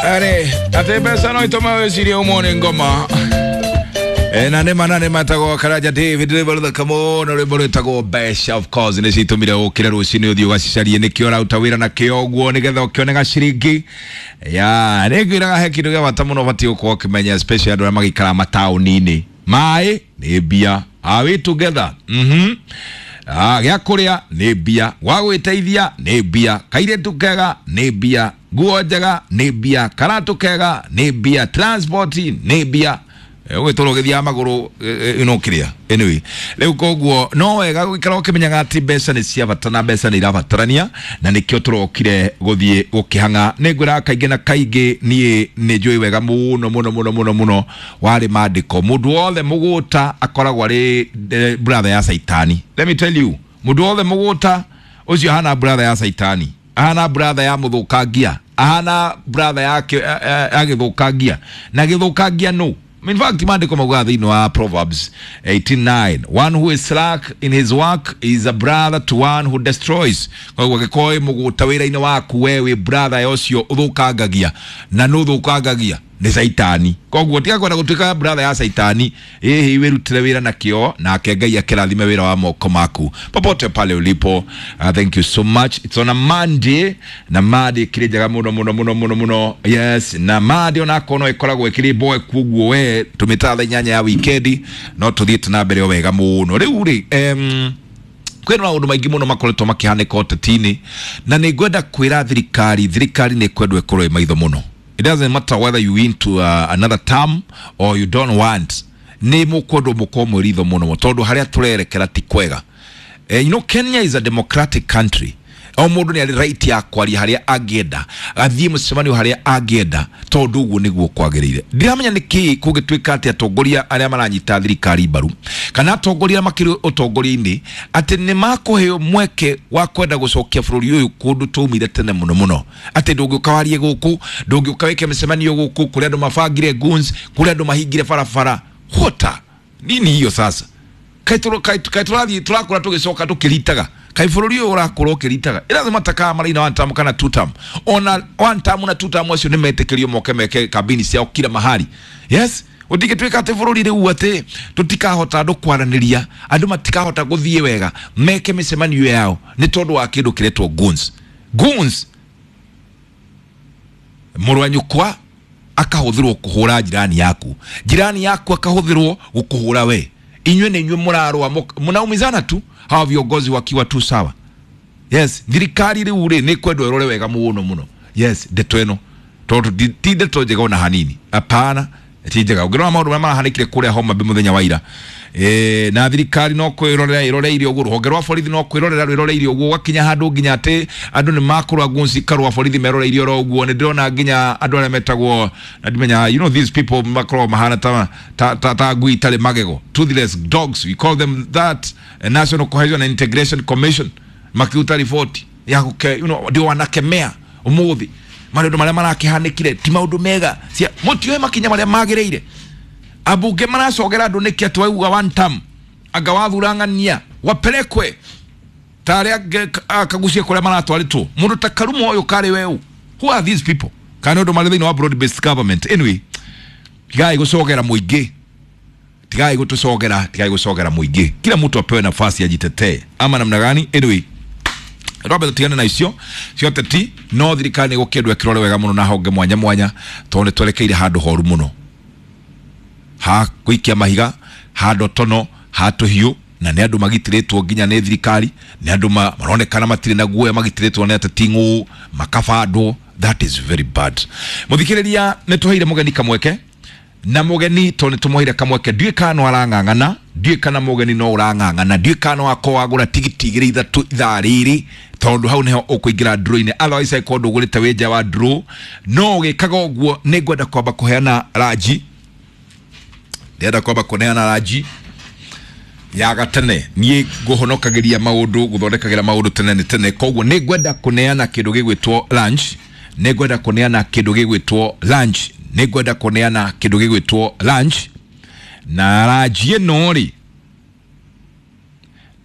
Are ate mbeca no itũme wĩcirie ũmwe ngoma. Na nĩ na nĩ matagwo Karanja David rwĩmbo rũthaka mũno, rwĩmbo rwĩtagwo mbeca. Of course nĩ citũmire ũkĩre rũcinĩ ũthiĩ ũgacicarie, nĩkĩo ũraruta wĩra na kĩo ũguo nĩgetha ũkĩone gaciringi ya. Nĩ ngwĩraga he kĩndũ gĩa bata mũno ũbatiĩ gũkorwo ũkĩmenya, especially andũ arĩa magĩikaraga mataũni-inĩ. Maĩ nĩ mbia. Are we together? Mhm. Ah, gĩa kũrĩa nĩ mbia, gwa gwĩteithia nĩ mbia, kairĩtu kega nĩ mbia, nguo njega nĩ mbia, karatũ kega nĩ mbia, transport nĩ mbia, ũgĩtũra ũgĩthiaga magũrũ no kĩrĩa. Anyway, rĩu koguo no wega gũikara ũkĩmenyaga atĩ mbeca nĩ cia bata na mbeca nĩ irabatarania, na nĩkĩo tũrokire gũthiĩ gũkĩhang'a. Nĩ ngwĩraga kaingĩ na kaingĩ, niĩ nĩ njũĩ wega mũno mũno mũno mũno mũno warĩ mandĩko, mũndũ wothe mũgũta akoragwo arĩ brother ya Saitani. Let me tell you, mũndũ wothe mũgũta ũcio ahana brother ya Saitani, ahana brother ya mũthũkangia, ahana brother ya gĩthũkangia na gĩthũkangia no. In fact, maandĩko maugaga thĩinĩ wa Proverbs 89, "One who is slack in his work is a brother to one who destroys." Koguo angĩkorwo wĩ mũgũta wĩra-inĩ waku, we wĩ brother ya ũcio ũthũkangagia, na nũ ũthũkangagia? Nĩ Saitani. Koguo tiga kwenda gũtuĩka brother ya Saitani. Ĩhĩ, wĩrutĩre wĩra na kĩo, nake Ngai akĩrathime wĩra wa moko maku popote pale ulipo. Thank you so much. It's on a Monday, na Monday ĩkĩrĩ njega mũno mũno mũno mũno mũno. Yes, na Monday onakorwo no ĩkoragwo ĩkĩrĩ boe, kuoguo we tũmĩtaga thaa 8 ya wikendi, no tũthiĩte na mbere o wega mũno. Rĩu rĩ, kwĩna maũndũ maingĩ mũno makoretwo makĩhanĩka ũteti-inĩ, na nĩ ngwenda kwĩra thirikari, thirikari nĩ kwendwo ĩkorwo ĩ maitho mũno. It doesn't matter whether you into another term or you don't want, nĩ mũkwendwo mũkorwo mwĩ ritho mũno, tondũ harĩa tũrerekera ti kwega. Kenya is a democratic country. O mũndũ nĩ arĩ right ya kwaria harĩa angĩenda, athiĩ mũcemanio harĩa angĩenda, tondũ ũguo nĩguo kwagĩrĩire. Ndiramenya nĩ kĩĩ kũngĩtuĩka atĩ atongoria arĩa maranyita thirikari mbaru kana atongoria arĩa makĩrĩ ũtongoria-inĩ atĩ nĩ makũheo mweke wa kwenda gũcokia bũrũri ũyũ kũndũ twaumire tene mũno mũno, atĩ ndũngĩũka warie gũkũ, ndũngĩũka wĩke mĩcemanio gũkũ kũrĩa andũ mabangire guns, kũrĩa andũ mahingire barabara. Hota nini hiyo sasa? Kaĩ tũrathiĩ tũrakũra tũgĩcoka tũkĩritaga? Kaĩ bũrũri ũyũ ũrakũra ũkĩritaga? Ĩrathĩ matakaga maraina one term kana two term. Ona one term na two term acio nĩ metĩkĩrio moke meke kambini ciao kila mahali. Yes, gũtingĩtuĩka atĩ bũrũri rĩu atĩ tũtikahota andũ kwaranĩria, andũ matikahota gũthiĩ wega meke mĩcemanio yao nĩ tondũ wa kĩndũ kĩretwo guns. Guns, mũrũ wa nyũkwa akahũthĩrwo kũhũra jirani yaku, jirani yaku akahũthĩrwo gũkũhũra we. Inyuĩ nĩ inyuĩ mũrarũa, mnaumizana tu, hawa viongozi wakiwa tu sawa. Yes, thirikari rĩu rĩ nĩ kwendwo ĩrore wega mũno mũno. Yes, ndeto ĩno tondũ ti ndeto njega ona hanini. Hapana, ti njega. Ũngĩrora maũndũ marĩa marahanĩkire kũrĩa Homa Bay mũthenya wa ira, na thirikari no kwĩrorera ĩroreire ũguo, rũhonge rwa borithi no kwĩrorera rwĩroreire ũguo, gwakinya handũ nginya atĩ andũ nĩ makũrwa guns karũa, borithi meroreirie oro ũguo. Nĩ ndĩrona nginya andũ arĩa metagwo na ndimenya, these people makoragwo mahana ta ngui itarĩ magego, toothless dogs, we call them that. National Cohesion and Integration Commission makiruta riboti ya gũke ndio wanakemea ũmũthĩ maũndũ marĩa marakĩhanĩkire ti maũndũ mega. Cia mũtioe makinya marĩa magĩrĩire. Ambunge maracogera andũ nĩkĩ atĩ wauga one term, anga wathurang'ania wapelekwe ta arĩa akagucie kũrĩa maratwarĩtwo, mũndũ ta Karumo ũyũ karĩ weũ. Who are these people? Kana nĩ ũndũ marĩ thĩinĩ wa broad based government? Anyway, tigai gũcogera mũingĩ, tigai gũtũcogera, tigai gũcogera mũingĩ. Kila mtu apewe nafasi ajitetee, ama namna gani? Anyway, twambe tũtigane na icio cia ũteti, no thirikari nĩ gũkĩendwo ĩkĩrore wega mũno na honge mwanya mwanya, tondũ nĩ twerekeire handũ horu mũno ha gũikia mahiga, ha ndotono, ha tũhiũ, na nĩ andũ magitĩrĩtwo nginya nĩ thirikari, nĩ andũ maronekana matirĩ na guoya, magitĩrĩtwo nĩ ateti ng'ũ makabandwo. That is very bad. Mũthikĩrĩria, nĩ tũheire mũgeni kamweke, na mũgeni to nĩ tũmũheire kamweke, ndiũĩ kana no arang'ang'ana, ndiũĩ kana mũgeni no ũrang'ang'ana, ndiũĩ kana no akorwo wagũra tigiti igĩrĩ ithatũ ithaa rĩrĩ, tondũ hau nĩho ũkũingĩra draw-inĩ. Otherwise angĩkorwo ndũgũrĩte wĩ nja wa draw. No ũgĩkaga ũguo, nĩ ngwenda kwamba kũheana ranji, ndĩrenda kwamba kũneana ranji ya gatene. Niĩ ngũhonokagĩria maũndũ, gũthondekagĩra maũndũ tene nĩ tene, koguo nĩ ngwenda kũneana kĩndũ gĩgwĩtwo lunch, nĩ ngwenda kũneana kĩndũ gĩgwĩtwo lunch, nĩ ngwenda kũneana kĩndũ gĩgwĩtwo lunch. Na ranji ĩno rĩ,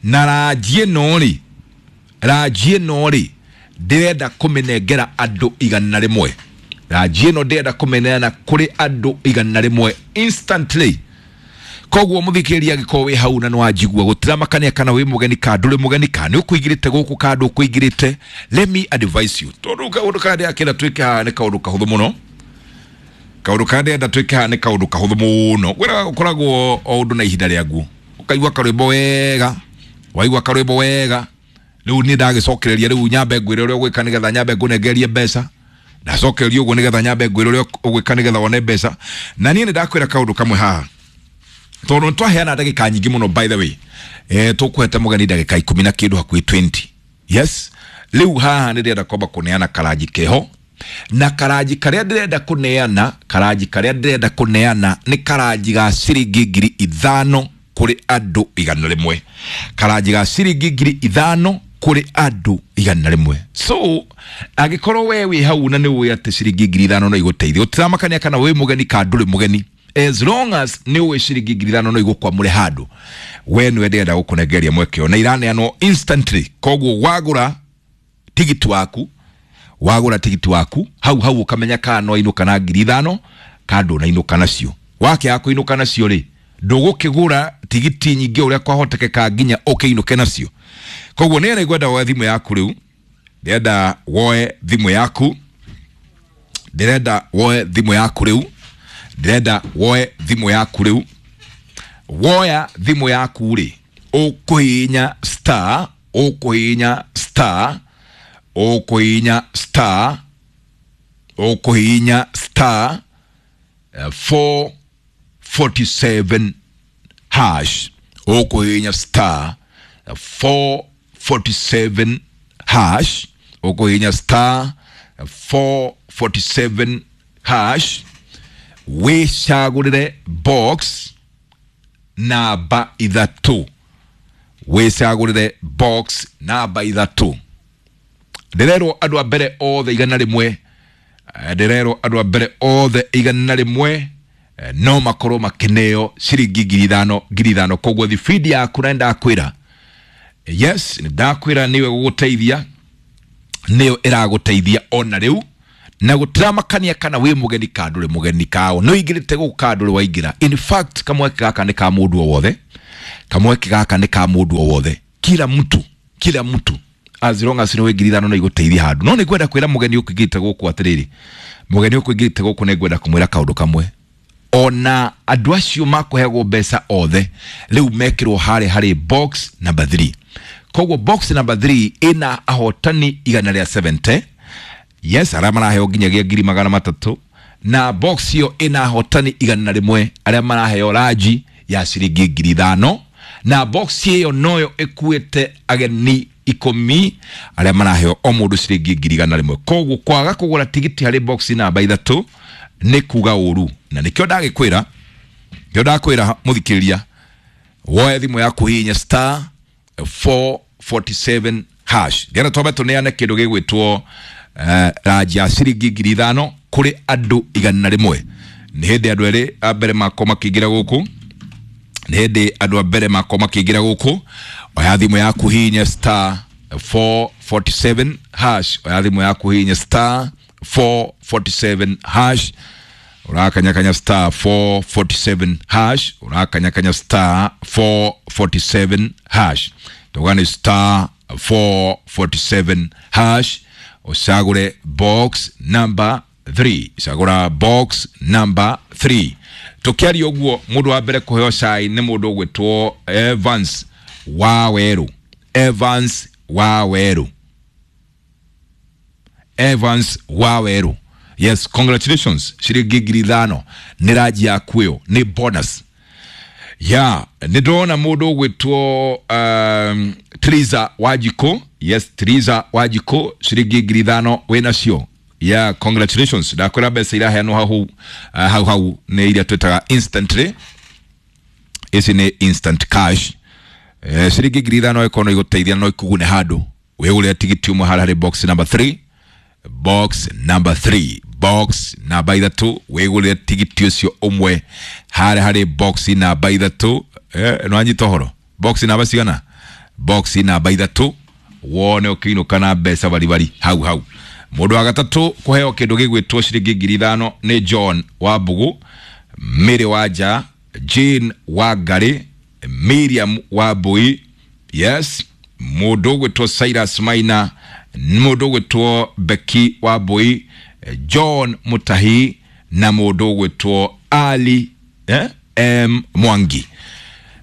na ranji ĩno rĩ, ranji ĩno rĩ, ndĩrenda kũmĩnengera andũ 100. Ranji ĩno ndĩrenda kũmĩneana kũrĩ andũ 100 instantly. Koguo mũthikĩrĩria angĩkorwo wĩ hau na nĩwanjigua, gũtiramakania kana wĩ mũgeni ka ndũrĩ mũgeni, ka nĩ ũkũingĩrĩte gũkũ ka ndũkũingĩrĩte, let me advise you, tondũ kaũndũ karĩa ndĩrakĩenda twĩke haha nĩ kaũndũ kahũthũ mũno. Kaũndũ karĩa ndĩrenda twĩke haha nĩ kaũndũ kahũthũ mũno. Gwĩraga gũkoragwo o ũndũ na ihinda rĩaguo. Ũkaigua karwĩmbo wega, waigua karwĩmbo wega, rĩu niĩ ndagĩcokereria, rĩu nyambe ngwĩre ũrĩa ũgwĩka nĩgetha nyambe ngũnengerie mbeca. Ndacokereria ũguo nĩgetha nyambe ngwĩre ũrĩa ũgwĩka nĩgetha wone mbeca. Na niĩ nĩ ndakwĩra kaũndũ kamwe haha, tondũ nĩtwaheana ndagĩka nyingĩ mũno. By the way, tũkũhete mũgeni ndagĩka 10 na kĩndũ, hakuhĩ 20. Yes, rĩu haha nĩ ndĩrenda kwamba kũneana karanji keho, na karanji karĩa ndĩrenda kũneana, karanji karĩa ndĩrenda kũneana nĩ karanji ga ciringi 5,000 kũrĩ andũ 100. Karanji ga ciringi 5,000 kũrĩ andũ 100. So angĩkorwo we wĩ hau na nĩ ũĩ atĩ ciringi 5,000 no igũteithie, gũtiramakania kana wĩ mũgeni ka ndũrĩ mũgeni, as long as nĩ ũĩ ciringi 5,000 no igũkwamũre handũ, we nĩwe ndĩrenda gũkũnengeria mweke ũyũ, na iraneanwo instantly. Koguo wagũra tigiti waku, wagũra tigiti waku hau hau ũkamenya kana no inũka na 5,000 ka ndũnainũka nacio. Wakĩaga kũinũka nacio rĩ, ndũgũkĩgũra tigiti nyingĩ ũrĩa kwahotekeka nginya ũkĩinũke nacio. Koguo nĩ ngwenda woe thimũ yaku rĩu, ndĩrenda woe thimũ yaku, ndĩrenda woe thimũ yaku rĩu, ndĩrenda woe thimũ yaku rĩu. Woya thimũ yaku rĩ, ũkũhihinya star, ũkũhihinya star, ũkũhihinya star, ũkũhihinya star 447 hash, ũkũhihinya star 447 hash, ũkũhihinya star 447 hash, wĩcagũrĩre box namba 3, wĩcagũrĩre box namba 3. Ndĩrerwo andũ a mbere othe 100, ndĩrerwo andũ a mbere othe 100 no makorwo makĩneo ciringi 5,000 5,000. Koguo thibindi yaku, na nĩndakwĩra, yes, nĩndakwĩra nĩwe gũgũteithia, nĩyo ĩragũteithia ona rĩu, na gũtiramakania kana wĩ mũgeni ka ndũrĩ mũgeni, kao nĩ ũingĩrĩte gũkũ ka ndũrĩ waingĩra. In fact, kamweke gaka nĩ ka mũndũ o wothe, kamweke gaka nĩ ka mũndũ o wothe, kila mtu, kila mtu, as long as nĩ wĩ 5,000 no igũteithia handũ. No nĩ ngwenda kwĩra mũgeni ũkũingĩrĩte gũkũ atĩrĩrĩ, mũgeni ũkũingĩrĩte gũkũ nĩ ngwenda kũmwĩra kaũndũ kamwe. Ona andũ acio makũheagwo mbeca othe rĩu mekĩrwo harĩa harĩ box number 3. Koguo box number 3 ĩna ahotani 170, yes, arĩa maraheo nginyagia 300,000, na box ĩyo ĩna ahotani 100 arĩa maraheo ranji ya ciringi 5,000, na box ĩyo noyo ĩkuĩte ageni 10 arĩa maraheo o mũndũ ciringi 100,000. Koguo kwaga kũgũra tigiti harĩ box namba 3 nĩ kuga ũru, na nĩkĩo ndagĩkwĩra, nĩkĩo ndakwĩra mũthikĩrĩria, woe thimũ yaku, hihinya star 447 hash. Ngena twambe tũneane kĩndũ gĩgwĩtwo ranji ya ciringi 5,000 kũrĩ andũ 100. Nĩ hĩndĩ andũ erĩ a mbere makorwo makĩingĩra gũkũ, nĩ hĩndĩ andũ a mbere makorwo makĩingĩra gũkũ. Oya thimũ yaku, hihinya star 447 hash. Oya thimũ yaku, hihinya star 447 hash. Ũrakanyakanya star 447 hash, ũrakanyakanya star 447 hash, tuga nĩ star 447 hash, ũcagũre box number 3, cagũra box number 3. Tũkĩaria ũguo, mũndũ wa mbere kũheo cai nĩ mũndũ ũgwĩtwo Evans wa Werũ, Evans wa Werũ, Evans wa Werũ. Yes, congratulations, ciringi 5,000 nĩ ranji yaku, ĩyo nĩ bonus ya. Nĩ ndĩrona mũndũ ũgwĩtwo Triza Wanjikũ. Yes, Triza Wanjikũ, ciringi 5,000 wĩnacio. Yeah, congratulations. Ndakwĩra mbeca iraheanwo hau hau hau nĩ iria twĩtaga instantly, ici nĩ instant cash. Ciringi 5,000 ĩkorwo no igũteithia, no ikũgune handũ, wĩgũrĩre tigiti ũmwe harĩa harĩ box number 3, box number 3, box namba 3, wĩgũrĩre tigiti ũcio ũmwe harĩa harĩ box namba 3. No anyita ũhoro, box namba cigana? Box namba 3, wone ũkĩinũka na mbeca baribari hau hau. Mũndũ wa gatatũ kũheo kĩndũ gĩgwĩtwo ciringi 5,000 nĩ John wa Mbugu, Mary Wanja, Jane wa Ngarĩ, Miriam wa Mbui, yes, mũndũ ũgwĩtwo Cyrus Maina, mũndũ ũgwĩtwo Becky wa Mbui, John Mutahi na mũndũ ũgwĩtwo Ali M Mwangi.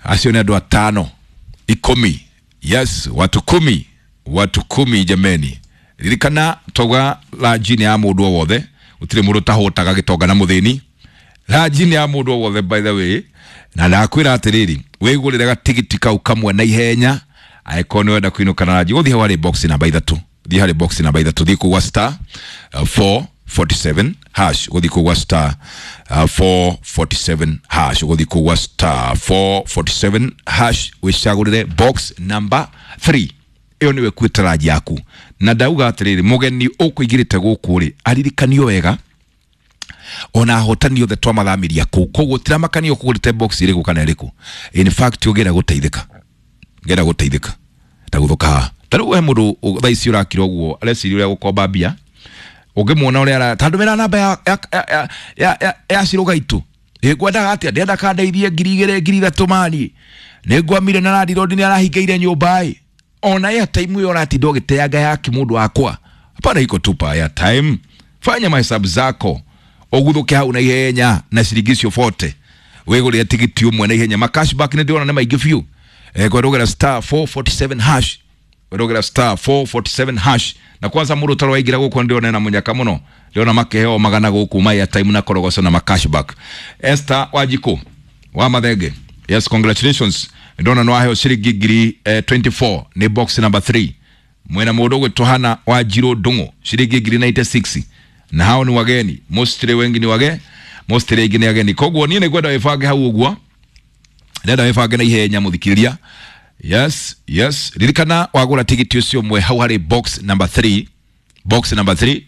Acio nĩ andũ atano 10, yes, watu 10, watu 10 jameni. Ririkana twauga ranji nĩ ya mũndũ o wothe, gũtirĩ mũndũ ũtahũtaga gĩtonga na mũthĩni. Ranji nĩ ya mũndũ o wothe by the way, na ndakwĩra atĩrĩrĩ, wĩgũrĩre gatigiti kau kamwe na ihenya angĩkorwo nĩ wenda kũinũka na ranji. Gũthiĩ hau harĩ box namba 3, thiĩ harĩ box namba 3, thiĩ kũu gwa star 447 hash, gũthiĩ kũu gwa star 447 hash, gũthiĩ kũu gwa star 447 hash, wĩcagũrĩre box number 3. Ĩyo nĩwe kuĩte ranji yaku. Na ndauga atĩrĩrĩ, mũgeni ũkũingĩrĩte gũkũ rĩ, aririkanio wega ona ahotani othe twamathamiria kũu, koguo tiramakania ũkũgũrĩte box ĩrĩkũ kana ĩrĩkũ. In fact ũngĩenda gũteithĩka, ngenda gũteithĩka ta gũthũka haha. Ta rĩu he mũndũ thaa ici ũrakira ũguo areciria ũrĩa gũkomba mbia, ũngĩmuona ũrĩa ta ndũmĩra namba ya Cirũgaitũ, ngwendaga atĩa, ndĩrenda kandeithie 2,000 3,000 mani, nĩngwamire na landlord nĩ arahingĩire nyũmba ĩ, ona airtime ĩyo ũratinda ũgĩteanga yake mũndũ wakwa. Hapana, iko tupa airtime, fanya mahesabu zako ũguthũke hau na ihenya na ciringi icio 40 wĩgũrĩre tigiti ũmwe na ihenya. Ma cashback nĩ ndĩrona nĩ maingĩ biũ. Kwerũgera star 447 hash, kwerũgera star 447 hash. Na kwanza mũndũ ũtarĩ waingĩra gũkũ ndĩrona ena mũnyaka mũno, ndĩrona makĩheo magana gũkũ ma airtime na korogoco na ma cashback. Esther Wanjikũ wa Mathenge, yes, congratulations, ndĩrona nĩ waheo ciringi 24,000 nĩ box number 3. Mwena mũndũ ũgwĩtwo Hana wa Njirũ Ndung'u ciringi 96,000, na hao ni wageni, mostly wengi ni wage, mostly aingĩ nĩ ageni. Koguo niĩ nĩngwenda wĩbange hau ũguo, ndĩrenda wĩbange na ihenya mũthikĩrĩria. Yes, yes, ririkana wagũra tigiti ũcio ũmwe hau harĩ box number 3, box number 3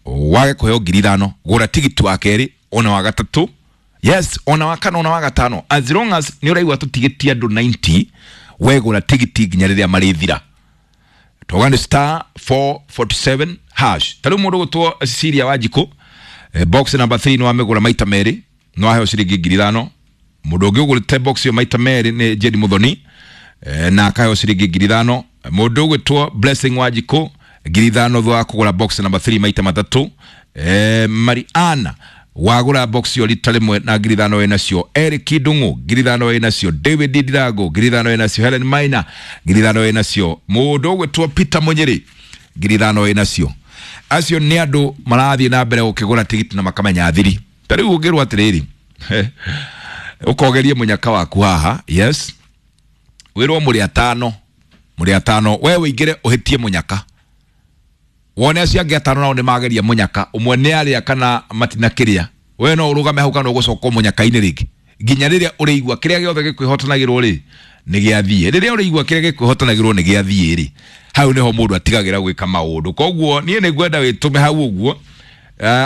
wage kũheo 5,000, gũra tigiti wa kerĩ ona wa gatatũ, yes, ona wa kana ona wa gatano, as long as nĩ ũraigua tũtigiti andũ 90, wegũra tigiti nginya rĩrĩa marĩthira. Twauga nĩ star 447 hash. Ta rĩu mũndũ ũgwĩtwo Cecilia Wanjikũ, box number 3 nĩ wamĩgũra maita merĩ, nĩ waheo ciringi 5,000. Mũndũ ũngĩ ũgũrĩte box ĩyo maita merĩ nĩ Jane Muthoni, na akaheo ciringi 5,000. Mũndũ ũgwĩtwo Blessing Wanjikũ 5,000 thutha wa kũgũra box number 3 maita matatũ. Mariana wagũra box ĩyo rita rĩmwe na 5,000 wĩ nacio. Eric Ndung'u 5,000 wĩ nacio. David Ndirango 5,000 wĩ nacio. Helen Maina 5,000 wĩ nacio. Mũndũ ũgwĩtwo Peter Mũnyĩrĩ 5,000 wĩ nacio. Acio nĩ andũ marathiĩ na mbere gũkĩgũra tigiti na makamenya thiri. Ta rĩu ũngĩrwo atĩrĩrĩ, ũkogerie mũnyaka waku haha, yes, wĩrwo mũrĩ atano, mũrĩ atano, we ũingĩre ũhĩtie mũnyaka, wone acio angĩ atano nao nĩ mageria mũnyaka, ũmwe nĩ arĩa kana matinakĩrĩa, we no ũrũgame hau kana ũgũcoka mũnyaka-inĩ rĩngĩ nginya rĩrĩa ũrĩigua kĩrĩa gĩothe gĩkwĩhotanagĩrwo rĩ nĩ gĩathiĩ. Rĩrĩa ũrĩigua kĩrĩa gĩkwĩhotanagĩrwo nĩ gĩathiĩ rĩ, hau nĩho mũndũ atigagĩra gwĩka maũndũ. Koguo niĩ nĩ ngwenda wĩtũme hau ũguo,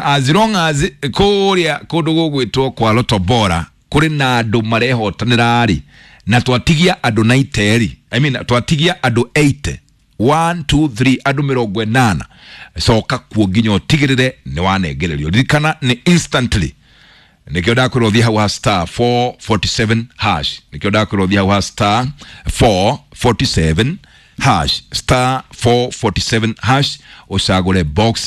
as long as kũrĩa kũndũ gũgwĩtwo kwa Lotto Bora kũrĩ na andũ marehotanĩra rĩ, na twatigia andũ 90 rĩ, I mean twatigia andũ 80, 1 2 3 andũ 80, coka kuo nginya ũtigĩrĩre nĩ wanengererio. Ririkana nĩ instantly, nĩkĩo ndakwĩrwo thiĩ hau ha star 447 hash, nĩkĩo ndakwĩrwo thiĩ hau ha star 447 hash, star 447 hash, ũcagũre box